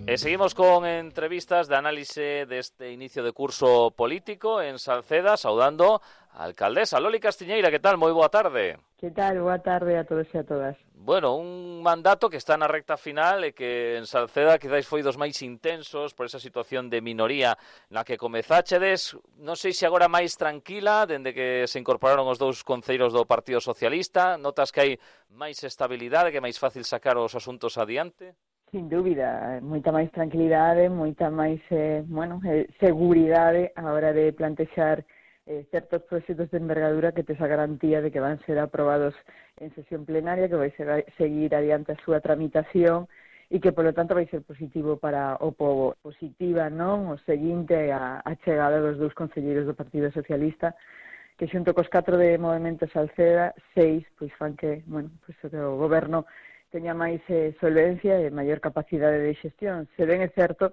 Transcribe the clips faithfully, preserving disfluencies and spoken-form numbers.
E seguimos con entrevistas de análise deste inicio de curso político en Salceda, saudando a alcaldesa Loli Castiñeira. Que tal? Moi boa tarde. Que tal? Boa tarde a todos e a todas. Bueno, un mandato que está na recta final e que en Salceda quizás foi dos máis intensos por esa situación de minoría na que comezáchedes. Non sei se agora máis tranquila, dende que se incorporaron os dous concelleiros do Partido Socialista. Notas que hai máis estabilidade, que é máis fácil sacar os asuntos adiante? Sin dúbida, moita máis tranquilidade, moita máis eh, bueno, eh, seguridade a hora de plantexar eh, certos proxectos de envergadura que tes a garantía de que van ser aprobados en sesión plenaria, que vai ser, seguir adiante a súa tramitación e que, polo tanto, vai ser positivo para o povo. Positiva, non? O seguinte, a, a chegada dos dous concelleiros do Partido Socialista, que xunto cos catro de Movemento Salceda, seis, pois fan que, bueno, pois o goberno teña máis eh, solvencia e maior capacidade de xestión. Se ben é certo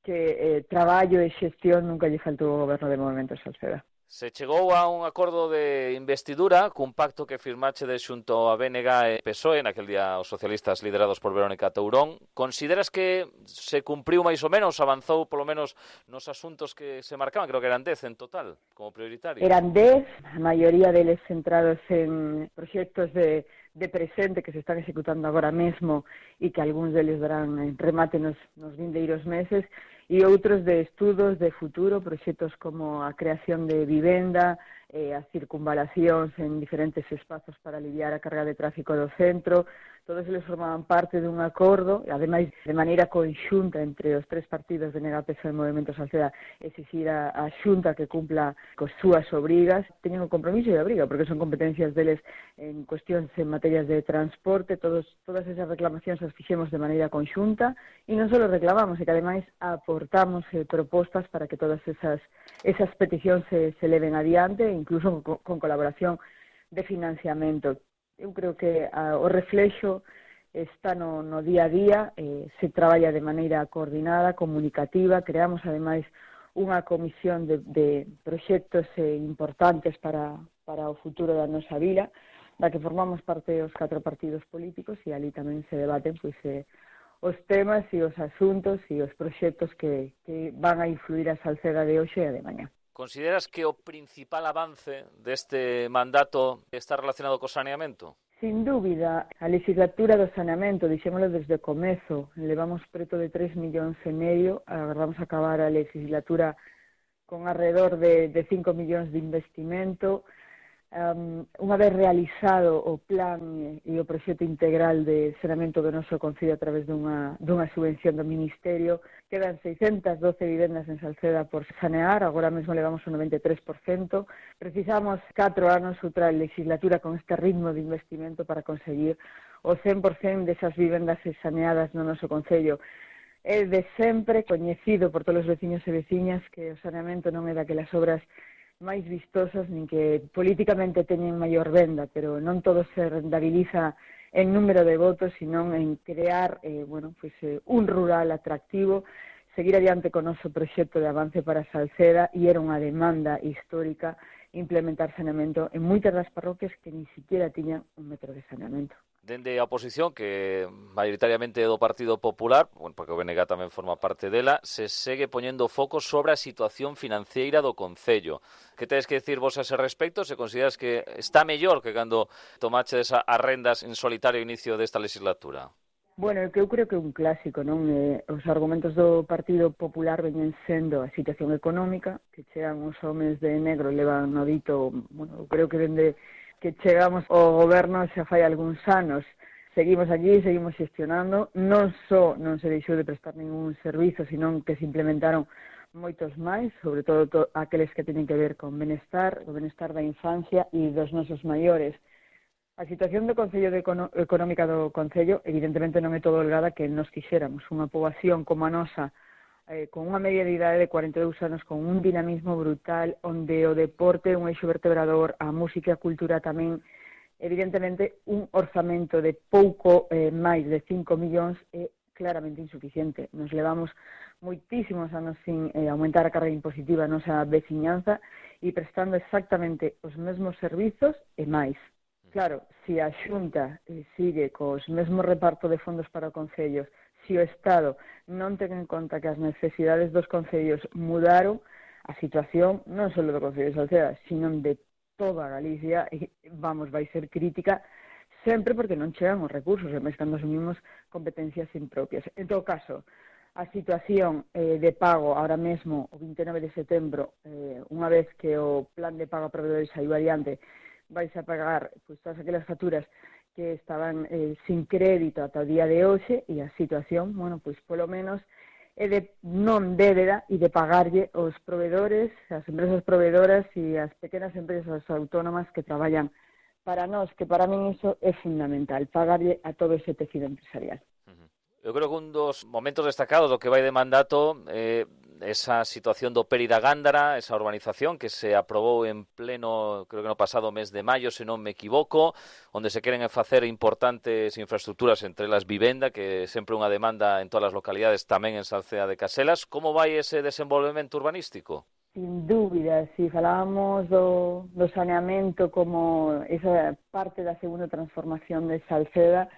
que eh, traballo e xestión nunca lle faltou ao goberno de Movemento Salceda. Se chegou a un acordo de investidura cun pacto que firmachedes xunto a B N G e P S O E, naquel día os socialistas liderados por Verónica Tourón. Consideras que se cumpriu máis ou menos, avanzou polo menos nos asuntos que se marcaban? Creo que eran dez en total, como prioritarios. Eran dez, a maioría deles centrados en proxectos de de presente que se están executando agora mesmo e que algúns deles darán en remate nos, nos vindeiros meses, e outros de estudos de futuro, proxectos como a creación de vivenda, eh, as circunvalacións en diferentes espazos para aliviar a carga de tráfico do centro. Todos eles formaban parte dun acordo, e ademais de maneira conxunta entre os tres partidos de N G, P S O E e Movemento Salceda, exixir a, a Xunta que cumpla cos súas obrigas. Teñen o compromiso e a obriga, porque son competencias deles en cuestións en materias de transporte. Todos, todas esas reclamacións as fixemos de maneira conxunta, e non só reclamamos, e que ademais aportamos eh, propostas para que todas esas, esas peticións se, se leven adiante, incluso con, con colaboración de financiamento. Eu creo que a, o reflexo está no, no día a día, eh, se traballa de maneira coordinada, comunicativa. Creamos, ademais, unha comisión de, de proxectos eh, importantes para, para o futuro da nosa vila, da que formamos parte os catro partidos políticos, e ali tamén se debaten pois, eh, os temas e os asuntos e os proxectos que, que van a influir a Salceda de hoxe e a de mañá. Consideras que o principal avance deste mandato está relacionado co saneamento? Sin dúbida, a legislatura do saneamento, dixémolo desde o comezo, levamos preto de tres millóns e medio, agardamos acabar a legislatura con alrededor de, de cinco millóns de investimento. Um, unha vez realizado o plan e o proxecto integral de saneamento do noso concello a través dunha, dunha subvención do Ministerio, quedan seiscentas doce vivendas en Salceda por sanear. Agora mesmo levamos un noventa e tres por cento. Precisamos catro anos outra legislatura con este ritmo de investimento para conseguir o cen por cento desas vivendas saneadas no noso concello. É de sempre coñecido por todos os veciños e veciñas que o saneamento non é daquelas obras máis vistosas, nin que políticamente teñen maior venda, pero non todo se rentabiliza en número de votos, sino en crear eh, bueno, pues, eh, un rural atractivo, seguir adiante con o noso proxecto de avance para Salceda, e era unha demanda histórica implementar saneamento en moitas das parroquias que ni siquiera tiñan un metro de saneamento. Dende a oposición, que maioritariamente é do Partido Popular, bueno, porque o B N G tamén forma parte dela, se segue poñendo foco sobre a situación financiera do Concello. Que tedes que decir vos a ese respecto? Se consideras que está mellor que cando tomaches as rendas en solitario inicio desta legislatura? Bueno, que eu creo que é un clásico, non? Eh, os argumentos do Partido Popular veñen sendo a situación económica, que chegan os homes de negro, levan no dito, bueno, eu creo que dende que chegamos ao goberno xa fai algúns anos. Seguimos allí, seguimos xestionando, non só non se deixou de prestar ningún servizo, senón que se implementaron moitos máis, sobre todo to, aqueles que teñen que ver con benestar, o benestar da infancia e dos nosos maiores. A situación do Concello de Econo económica do Concello evidentemente non é todo holgada que nos quixéramos. Unha poboación como a nosa, eh, con unha media de idade de cuarenta e dous anos, con un dinamismo brutal, onde o deporte é un eixo vertebrador, a música e a cultura tamén. Evidentemente, un orzamento de pouco eh, máis de cinco millóns é claramente insuficiente. Nos levamos moitísimos anos sin eh, aumentar a carga impositiva a nosa veciñanza e prestando exactamente os mesmos servizos e máis. Claro, se a Xunta eh, sigue cos mesmos reparto de fondos para o Concello, se o Estado non ten en conta que as necesidades dos concellos mudaron, a situación non só do Concello de Salceda, sino de toda Galicia, e, vamos, vai ser crítica sempre porque non chegan os recursos, e máis cando asumimos competencias impropias. En todo caso, a situación eh, de pago ahora mesmo, o vinte e nove de setembro, eh, unha vez que o plan de pago a proveedores saiu adiante, vais a pagar pues, todas aquelas facturas que estaban eh, sin crédito ata o día de hoxe, e a situación, bueno, pois polo menos é de non débeda e de pagarlle os proveedores, as empresas proveedoras e as pequenas empresas autónomas que traballan para nós, que para min iso é fundamental, pagarlle a todo ese tecido empresarial. Eu creo que un dos momentos destacados do que vai de mandato é eh, esa situación do Peri da Gándara, esa urbanización que se aprobou en pleno, creo que no pasado mes de maio, se non me equivoco, onde se queren facer importantes infraestructuras, entre elas vivenda, que é sempre unha demanda en todas as localidades, tamén en Salceda de Caselas. Como vai ese desenvolvemento urbanístico? Sin dúbida, si falábamos do, do saneamento como esa parte da segunda transformación de Salceda,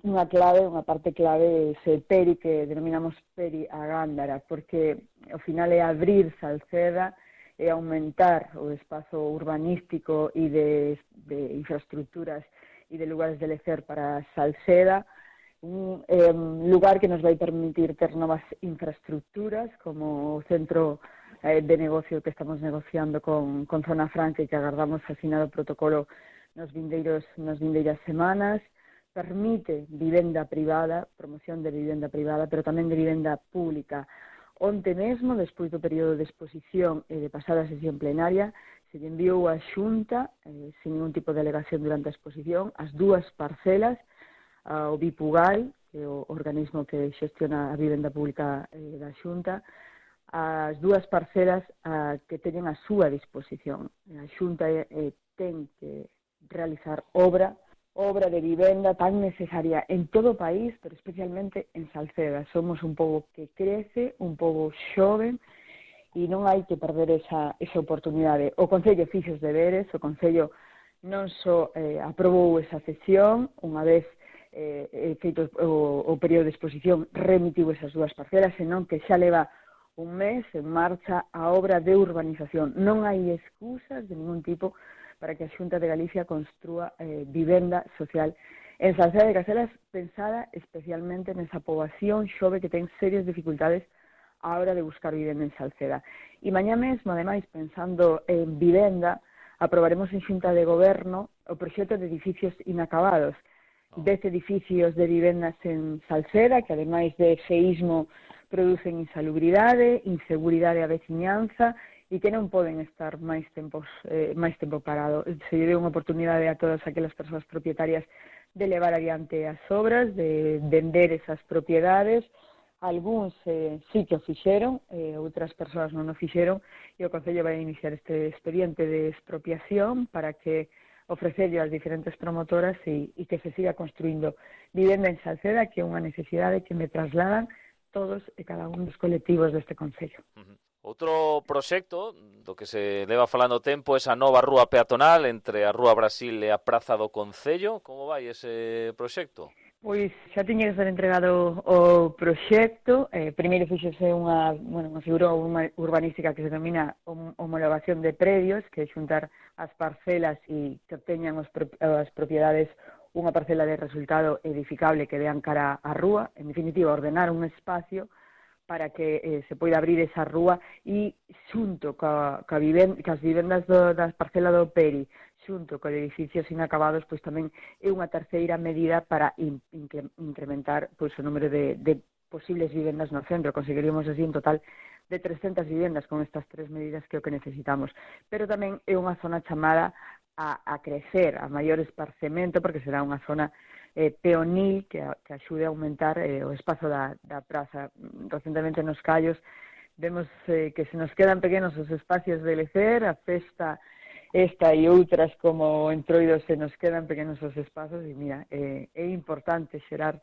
unha clave, unha parte clave ese Peri que denominamos Peri a Gándara, porque ao final é abrir Salceda e aumentar o espazo urbanístico e de, de infraestructuras e de lugares de lecer para Salceda, un eh, lugar que nos vai permitir ter novas infraestructuras como o centro eh, de negocio que estamos negociando con, con Zona Franca e que agardamos asinado o protocolo nos vindeiros, nas vindeiras semanas. Permite vivenda privada, promoción de vivenda privada, pero tamén de vivenda pública. Onte mesmo, despois do período de exposición e de pasada sesión plenaria, se lle enviou a Xunta, eh, sin ningún tipo de alegación durante a exposición, as dúas parcelas, ao Bipugal, que é o organismo que xestiona a vivenda pública eh, da Xunta, as dúas parcelas a, que teñen a súa disposición. A Xunta eh, ten que realizar obra obra de vivenda tan necesaria en todo o país, pero especialmente en Salceda. Somos un pobo que crece, un pobo xoven, e non hai que perder esa, esa oportunidade. O Concello fixo os deberes, o Concello non só eh, aprobou esa cesión, unha vez eh, feito o, o período de exposición, remitiu esas dúas parcelas, senón que xa leva un mes en marcha a obra de urbanización. Non hai excusas de ningún tipo para que a Xunta de Galicia construa eh, vivenda social en Salceda de Caselas, pensada especialmente nesa poboación xove que ten serias dificultades á hora de buscar vivenda en Salceda. E mañá mesmo, ademais, pensando en vivenda, aprobaremos en Xunta de Goberno o proxecto de edificios inacabados. Dez edificios de vivendas en Salceda, que ademais de feísmo producen insalubridade, inseguridade a veciñanza, e que non poden estar máis tempos eh, máis tempo parado. Se lle deu unha oportunidade a todas aquelas persoas propietarias de levar adiante as obras, de vender esas propiedades. Algúns eh, sí que o fixeron, eh, outras persoas non o fixeron, e o Concello vai iniciar este expediente de expropiación para que ofrecerlle ás diferentes promotoras e, e que se siga construindo vivenda en Salceda, que é unha necesidade que me trasladan todos e cada un dos colectivos deste Concello. Uh-huh. Outro proxecto do que se leva falando tempo é esa nova rúa peatonal entre a Rúa Brasil e a Praza do Concello. Como vai ese proxecto? Pois xa tiña que ser entregado o proxecto. Eh, primeiro fixose unha, bueno, unha figura urbanística que se denomina homologación de predios, que é xuntar as parcelas e que teñan os, as propiedades unha parcela de resultado edificable que dean cara á rúa. En definitiva, ordenar un espacio para que eh, se poida abrir esa rúa e xunto ca, ca viven, cas vivendas do, das parcelas do Peri, xunto con edificios inacabados, pois tamén é unha terceira medida para in, in, incrementar pois, o número de, de posibles vivendas no centro. Conseguiríamos así un total de trescentas vivendas con estas tres medidas que é o que necesitamos. Pero tamén é unha zona chamada a, a crecer, a maior esparcemento, porque será unha zona Eh, peonil que, que axude a aumentar eh, o espazo da, da praza. Recentemente nos Callos vemos eh, que se nos quedan pequenos os espacios de lecer, a festa esta e outras como Entroido se nos quedan pequenos os espazos e mira, eh, é importante xerar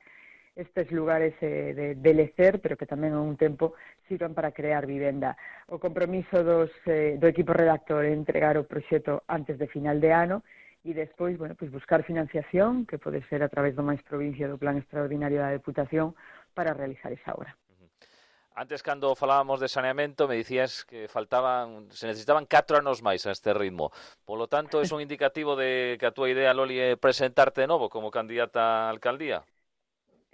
estes lugares eh, de, de lecer, pero que tamén ao un tempo sirvan para crear vivenda. O compromiso dos, eh, do equipo redactor é entregar o proxecto antes de final de ano e despois, bueno, pois buscar financiación, que pode ser a través do máis provincia do Plan Extraordinario da Deputación, para realizar esa obra. Antes, cando falábamos de saneamento, me dicías que faltaban, se necesitaban catro anos máis a este ritmo. Polo tanto, é un indicativo de que a túa idea, Loli, é presentarte de novo como candidata á alcaldía?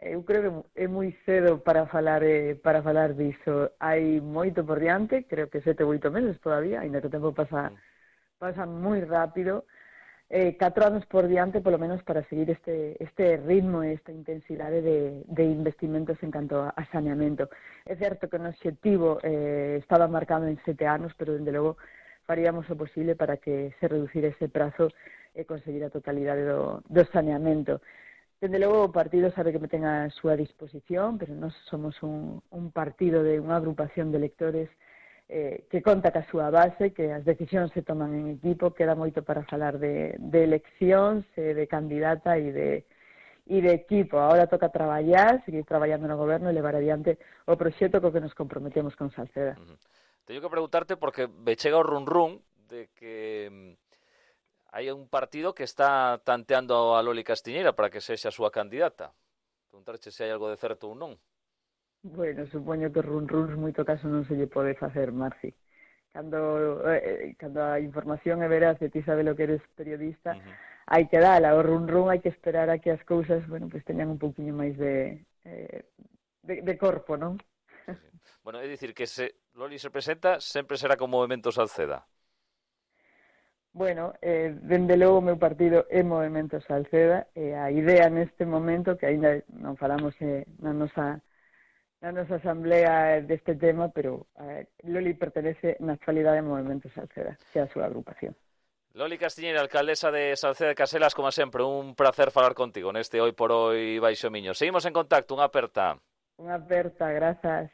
Eu creo que é moi cedo para falar eh, para falar diso. Hai moito por diante, creo que sete ou oito meses todavía, ainda que o tempo pasa, pasa moi rápido. Eh, catro anos por diante, polo menos, para seguir este, este ritmo e esta intensidade de, de investimentos en canto a, a saneamento. É certo que o obxectivo eh, estaba marcado en sete anos, pero, dende logo, faríamos o posible para que se reducir ese prazo e conseguir a totalidade do, do saneamento. Dende logo, o partido sabe que me ten a súa disposición, pero nós somos un, un partido de unha agrupación de electores eh, que conta ca súa base, que as decisións se toman en equipo, queda moito para falar de, de eleccións, eh, de candidata e de, e de equipo. Ahora toca traballar, seguir traballando no goberno e levar adiante o proxecto co que nos comprometemos con Salceda. Uh-huh. Teño que preguntarte porque me chega o run run de que hai un partido que está tanteando a Loli Castiñeira para que sexa a súa candidata. Preguntarche se hai algo de certo ou non. Bueno, supoño que run runs moito caso non se lle pode facer, Marci. Cando, eh, cando a información é veraz e ti sabes lo que eres periodista, uh-huh. hai que dala. O run run hai que esperar a que as cousas, bueno, pues teñan un pouquiño máis de, eh, de, de corpo, non? Sí, sí. Bueno, é dicir que se Loli se presenta, sempre será con Movemento Salceda. Bueno, eh, dende logo o meu partido é Movemento Salceda e a idea neste momento, que aínda non falamos eh, na nosa na nosa asamblea deste tema, pero eh, Loli pertenece na actualidade ao Movemento Salceda, que é a súa agrupación. Loli Castiñeira, alcaldesa de Salceda de Caselas, como sempre, un placer falar contigo neste Hoy por Hoy Baixo Miño. Seguimos en contacto, unha aperta. Unha aperta, grazas.